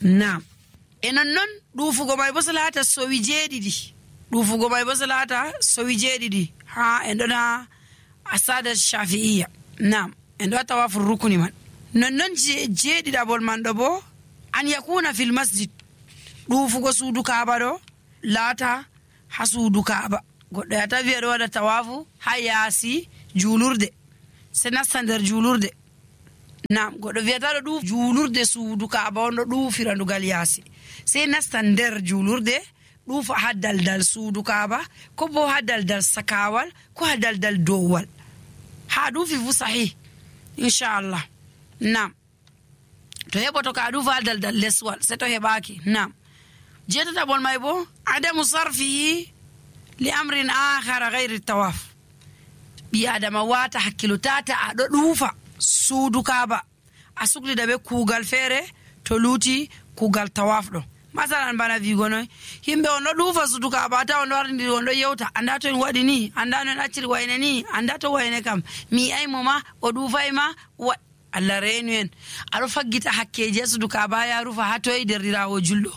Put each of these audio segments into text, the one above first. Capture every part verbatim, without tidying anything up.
Naam. E non non ɗuufugo may bo salata sowi jeeɗiɗi ɗuufugo may bo salata sowi jeeɗiɗi ha en ɗon ha asada shafi'iya. Naam, en ɗo tawaful rukuni man. Non non jeeɗiɗabol man ɗo bo an yakuna fil masjid, ɗuufugo suudu kaaba ɗo laata ha suudu kaaba. Goɗɗo ya tawi aɗo waɗa tawafu ha yaasi juulurde se nasta nder juulurde. Naam, goɗɗo wiyata ɗo ɗuuf juulurde suudu kaaba on ɗo ɗuufira ndugal yaasi se nasta nder juulurde ɗuufa ha daldal suudu kaaba ko bo ha daldal sakawal ko ha daldal dowwal. Ha ɗuufi fu sahih inchallah. Naam, to heɓoto ka ɗuufa ha daldal leswal se to heɓaki. Naam, jeetataɓol may bo adamu sarfihi li amrin akhara gayri tawaf. ɓi adama wata hakkilo tata aɗo ɗuufa suudu kaaba a suklida be kuugal feere to luuti kuugal tawaf ɗo. Masalan bana wigo noy himɓe on ɗo ɗuufa suudu kaaba ta on ɗo wardi on ɗo yewta anda to en waɗi ni, anda no en acciri wayne ni, anda to wayne kam mi aymo ma o ɗuufay ma wa Allah reenu en. aɗo faggita hakkeji ha suudu kaaba ya rufa ha toye derdirawo julɗo.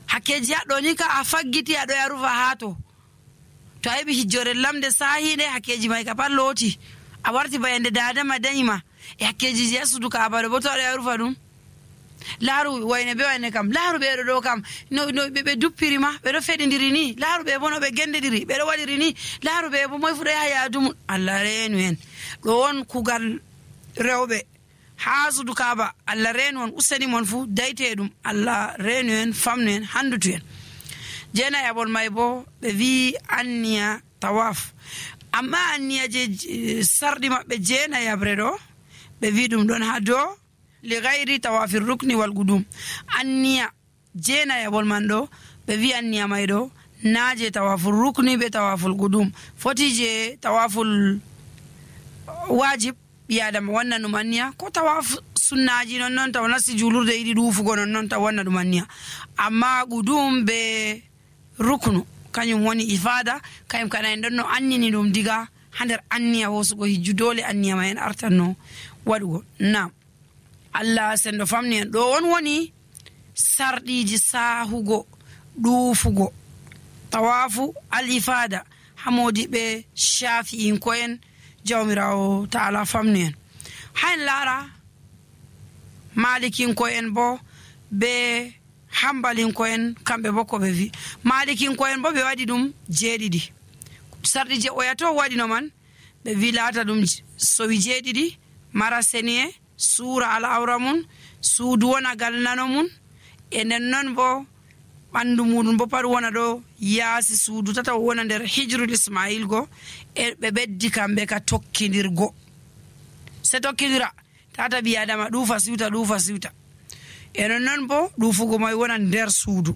Hakkeji haɗɗo ni ka a faggiti aɗo ya rufa ha to to a heɓi hijjore lamde sahiɗe hakkeji may ka pat looti a warti bayande dadama dañima e hakkejiji ha suudu kaaba ɗo bo to aɗo ya rufa ɗum. Laaru wayne be wayne kam laaru ɓeɗo ɗo kam no no ɓe duppiri ma ɓeɗo feɗidiri ni, laaru ɓe bo no ɓe gendidiri ɓeɗo waɗiri ni, laaru ɓe bo moy fuɗo yaha yaadu mum. Allah reenu en. ɗo on kugal rewɓe ha suudu kaaba. Allah reenu on, useni mon fu dayte ɗum. Allah reenu en, famnu en, handutu en. Jeenayabol may bo ɓe wi anniya tawaf, amma anniya je sarɗi maɓɓe jeenayabre ɗo ɓe wi ɗum ɗon ha dow li gayri tawafir rukni wal gudum. Anniya jeenayabol man ɗo ɓe wi anniya may ɗo na je tawaful rukni be tawaful gudum, foti je tawaful wajib ɓi adama wanna ɗum anniya, ko tawaf sunnaji non non taw nasti julurde yiɗi ɗuufugo non non taw wanna ɗum anniya. Amma gudum be ruknu kañum woni ifada, kayum kana en ɗon no annini ɗum diga ha nder anniya hosugo hijju, dole anniya ma en artanno waɗugo. Naam, Allah sendo famni en. ɗo on woni sarɗiji sahugo ɗuufugo tawafu al ifada ha modiɓe shafi'in ko en jawmirawo ta'ala famni en. Ha en laara malikin ko en bo be hambalin ko en kamɓe bo ko ɓe wi. Malikin ko en bo ɓe waɗi ɗum jeeɗiɗi. Sarɗi je oyato waɗino man ɓe wi laata ɗum sowi jeeɗiɗi, mara seniye, suura al'aura mun, suudu wona galnano mun, e nden non bo ɓandu muɗum bo pat wona ɗo yaasi suudu tata wona nder hijrul ismail go, e ɓe ɓeddi kamɓe ka tokkidirgo. Se tokkidira tata ɓi adama ɗuufa siwta ɗuufa siwta, e non non bo ɗuufugo may wona nder suudu.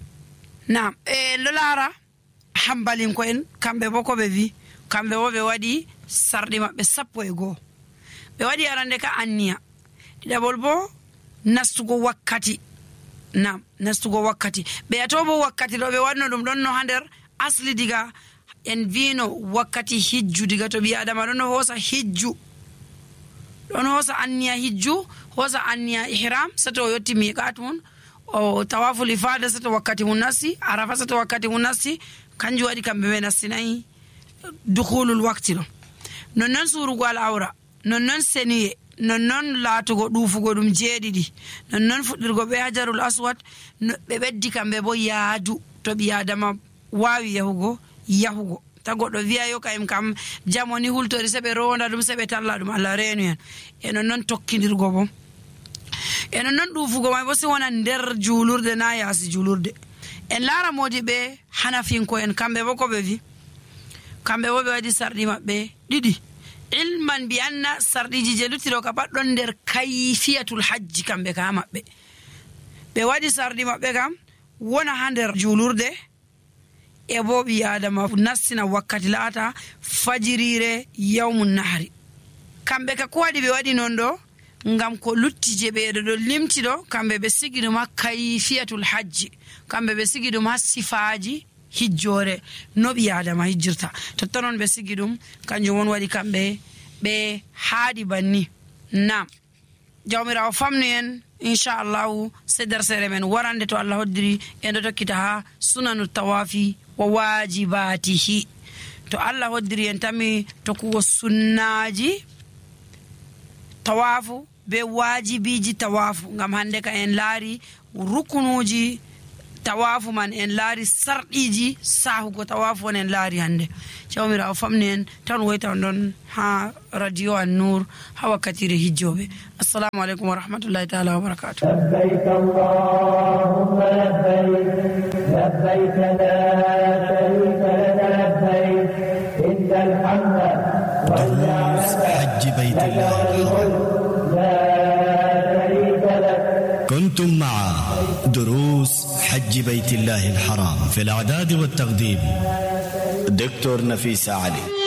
Naam, e lo laara hambalin ko en kamɓe bo ko ɓe wi, kamɓe bo ɓe waɗi sarɗi maɓɓe sappo e goo. ɓe waɗi arande ka anniya, ɗiɗaɓol bo nastugo wakkati. Naam, nastugo wakkati. ɓe ato bo wakkati ɗo ɓe waɗno ɗum ɗon no ha nder asli diga en vino wakkati hijju, diga to ɓi adama ɗon no hoosa hijju, ɗon hoosa anniya hijju, hoosa anniya ihram sato o yetti miqat mun, o tawaful ifada sato wakkati mun nasti, arafa sato wakkati mun nasti, kanjum waɗi kamɓe ɓe nastinayi dukhulul wakti ɗo. nonnon surugo al awra, nonnon seniye, nonnon laatugo ɗuufugo ɗum jeeɗiɗi, nonnon fuɗɗirgo ɓe hajarul aswad, ɓe ɓeddi kamɓe bo yaadu to ɓi adama wawi yahugo yahugo. Ta goɗɗo wiya yo kayim kam jamoni hultori se ɓe ronda ɗum se ɓe talla ɗum. Allah reenu en. e nonnon tokkidirgo bo, e nonnon ɗuufugo may bo si wona nder juulurde na yaasi juulurde. en laara modi ɓe hanafinko en kamɓe bo ko ɓe wi, kamɓe bo ɓe waɗi sarɗi maɓɓe ɗiɗi, ilman bi anna sarɗiji je luttiɗo ka pat ɗon nder kayfiyatul hajji kamɓe ka maɓɓe. ɓe waɗi sarɗi maɓɓe kam wona ha nder juulurde, e bo ɓi adama nastina wakkati laata fajirire yawmun nahari. kamɓe ka ko waɗi ɓe waɗi non ɗo ngam ko lutti je ɓeɗo ɗo limti ɗo, kamɓe ɓe sigi ɗum ha kayfiyatul hajji, kamɓe ɓe sigi ɗum ha sifaji hijjore no ɓi adama hijjirta, totta noon ɓe sigi ɗum, kanjum won waɗi kamɓe ɓe haaɗi banni. Naam, jawmirawo famnu en inchallahu se dersere men warande to Allah hoddiri en do tokkita ha sunanu tawafi wa wajibatihi. to Allah hoddiri en tami to kuwo sunnaji tawafu be wajibiji tawafu ngam hande ka en laari rukunuji tawafu man en laari sarɗiji sahugo tawafu on en laari hande. jawmirawo famni en tan woyta don ha radio an-nur ha wakkatire hijjobe. assalamu alaikum wa rahmatullahi ta'ala wa barakatuh. labbayk allahumma labbayk labbayk la sharika laka labbayk innal hamda wal ni'mata حج بيت الله la sharika lak. كنتم مع دروس حج بيت الله الحرام في الإعداد والتقديم دكتور نفيس علي.